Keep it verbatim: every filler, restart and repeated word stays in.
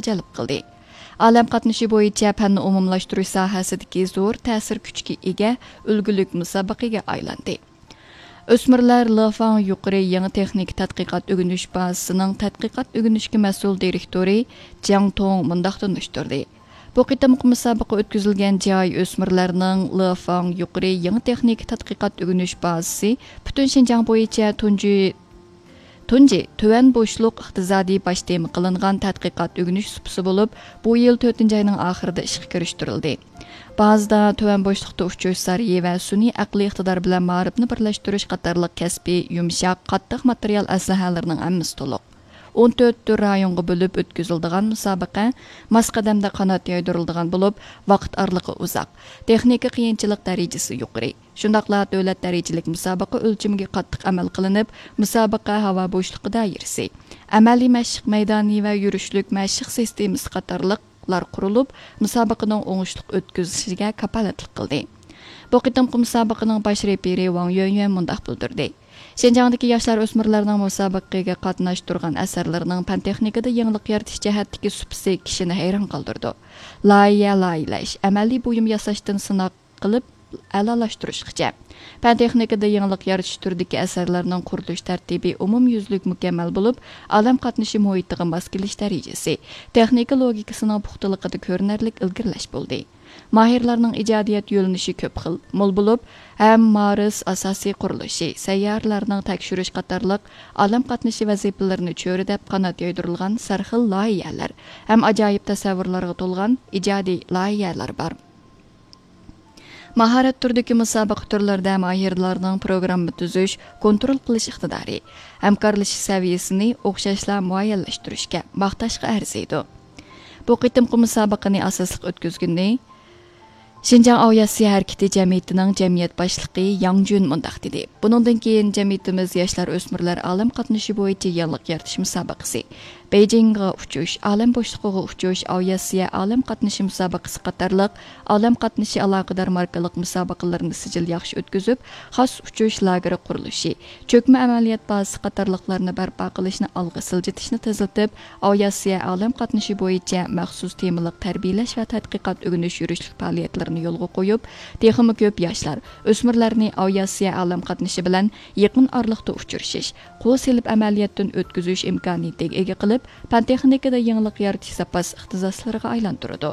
جەلپ قىلدى. ئالەم قاتنىشى بويىچە پەننى ئومۇملاشتۇرۇش ساھەسىدىكى زور تەسىر كۈچىگە ئىگە ئۈلگىلىك مۇسابىقىگە ئايلاندى. ئۆسمۈرلەر لېفاڭ يۇقىرى يېڭى تېخنىكا تەتقىقات ئۆگىنىش بازىسىنىڭ تەتقىقات ئۆگىنىشكە مەسئۇل دىرېكتورى جياڭ توڭ مۇنداق تونۇشتۇردى: بۇ قېتىمقى مۇسابىقە ئۆتكۈزۈلگەن جاي ئۆسمۈرلەرنىڭ لېفاڭ يۇقىرى يېڭى تېخنىكا تەتقىقات ئۆگىنىش بازىسى پۈتۈن شىنجاڭ بويىچە تۇنجى تۇنجى تۆۋەن بوشلۇق ئىقتىسادىي باش تېما قىلىنغان تەتقىقات ئۆگىنىش سۇپىسى بولۇپ، بۇ يىل تۆتىنچى ئاينىڭ ئاخىرىدا ئىشقا كىرىشتۈرۈلدى. بازىدا تۆۋەن بوشلۇقتا ئۇچۇش سارىيى ۋە سۈنئىي ئەقلىي ئىقتىدار بىلەن مائارىپنى بىرلەشتۈرۈش قاتارلىق كەسپىي، يۇمشاق، قاتتىق ماتېرىيال ئەسلىھەلىرىنىڭ ھەممىسى تولۇق. ئون تۆت تۈر رايونغا بۆلۈپ ئۆتكۈزۈلىدىغان مۇسابىقە ماس قەدەمدە قانات يايدۇرۇلىدىغان بولۇپ، ۋاقىت ئارىلىقى ئۇزاق، تېخنىكا قىيىنچىلىق دەرىجىسى يۇقىرى. شۇنداقلا دۆلەت دەرىجىلىك مۇسابىقە ئۆلچىمىگە قاتتىق ئەمەل قىلىنىپ، مۇسابىقە ھاۋا بوشلۇقى دائىرىسى، ئەمەلىي مەشىق مەيدانى ۋە يۈرۈشلۈك مەشىق سىستېمىسى قاتارلىقلار قۇرۇلۇپ، مۇسابىقىنىڭ ئوڭۇشلۇق ئۆتكۈزۈلۈشىگە كاپالەتلىك قىلدى. بۇ قېتىمقى مۇسابىقىنىڭ باش رېپېرى ۋاڭ يۈەنيۈەن مۇنداق بىلدۈردى: شىنجاڭدىكى ياشلار ئۆسمۈرلەرنىڭ مۇسابىقىگە قاتناشتۇرغان ئەسەرلىرىنىڭ پەن تېخنىكىدا يېڭىلىق يارىتىش جەھەتتىكى سۇپىسى كىشىنى ھەيران قالدۇرىدۇ. لايىھە لايىھەلەش، ئەمەلىي بۇيۇم ياساشتىن سىناق قىلىپ ئەلالاشتۇرۇشقىچە، پەن تېخنىكىدا يېڭىلىق يارىتىش تۈرىدىكى ئەسەرلەرنىڭ قۇرۇلۇش تەرتىپى ئومۇميۈزلۈك مۇكەممەل بولۇپ، ئالەم قاتنىشى مۇھىتىغا ماس كېلىش دەرىجىسى، تېخنىكا لوگىكىسىنىڭ پۇختىلىقىدا كۆرۈنەرلىك ئىلگىرىلەش بولدى. ماھىرلارنىڭ ئىجادىيەت يۆنىلىشى كۆپ خىل، مول بولۇپ، ھەم مارس ئاساسىي قۇرۇلۇشى، سەييارىلەرنىڭ تەكشۈرۈش قاتارلىق ئالەم قاتنىشى ۋەزىپىلىرىنى چۆرىدەپ قانات يايدۇرۇلغان سەرخىل لايىھەلەر ھەم ئاجايىپ تەسەۋۋۇرلارغا تولغان ئىجادىي لايىھەلەر بار. ماھارەت تۈرىدىكى مۇسابىقە تۈرلىرىدە ماھىرلارنىڭ پروگرامما تۈزۈش، كونترول قىلىش ئىقتىدارى، ھەمكارلىشىش سەۋىيەسىنى ئوخشاشلا مۇئەييەنلەشتۈرۈشكە، ماختاشقا ئەرزىيدۇ. بۇ قېتىمقى مۇسابىقىنى ئاساسلىق ئۆتكۈزگىنى شىنجاڭ ئاۋىئاتسىيە ھەرىكىتى جەمئىيىتىنىڭ جەمئىيەت باشلىقى ياڭ جۈن مۇنداق دېدى: بۇنىڭدىن كېيىن جەمئىيىتىمىز ياشلار ئۆسمۈرلەر ئالەم قاتنىشى بويىچە يېڭىلىق يارىتىش مۇسابىقىسى، بېيجىڭغا ئۇچۇش، ئالەم بوشلۇقىغا ئۇچۇش، ئاۋىئاتسىيە ئالەم قاتنىشى مۇسابىقىسى قاتارلىق ئالەم قاتنىشى ئالاقىدار ماركىلىق مۇسابىقىلىرىنى سىجىل ياخشى ئۆتكۈزۈپ، خاس ئۇچۇش لاگېرى قۇرۇلۇشى، چۆكمە ئەمەلىيەت بازىسى قاتارلىقلارنى بەرپا قىلىشنى ئالغا سىلجىتىشنى تېزلىتىپ، ئاۋىئاتسىيە ئالەم قاتنىشى بويىچە مەخسۇس تېمىلىق تەربىيەلەش ۋە تەتقىقات ئۆگىنىش يۈرۈشلۈك پائالىيەتلىرىنى يولغا قويۇپ، تېخىمۇ كۆپ ياشلار، ئۆسمۈرلەرنى ئاۋىئاتسىيە ئالەم قاتنىشى بىلەن يېقىن ئارىلىقتا ئۇچرىشىش، قول سېلىپ ئەمەلىيەتتىن ئۆتكۈزۈش ئىمكانىيىتىگە ئىگە قىلىپ، پەن تېخنىكىدا يېڭىلىق يارىتىش زاپاس ئىختىساسلىرىغا ئايلاندۇرىدۇ.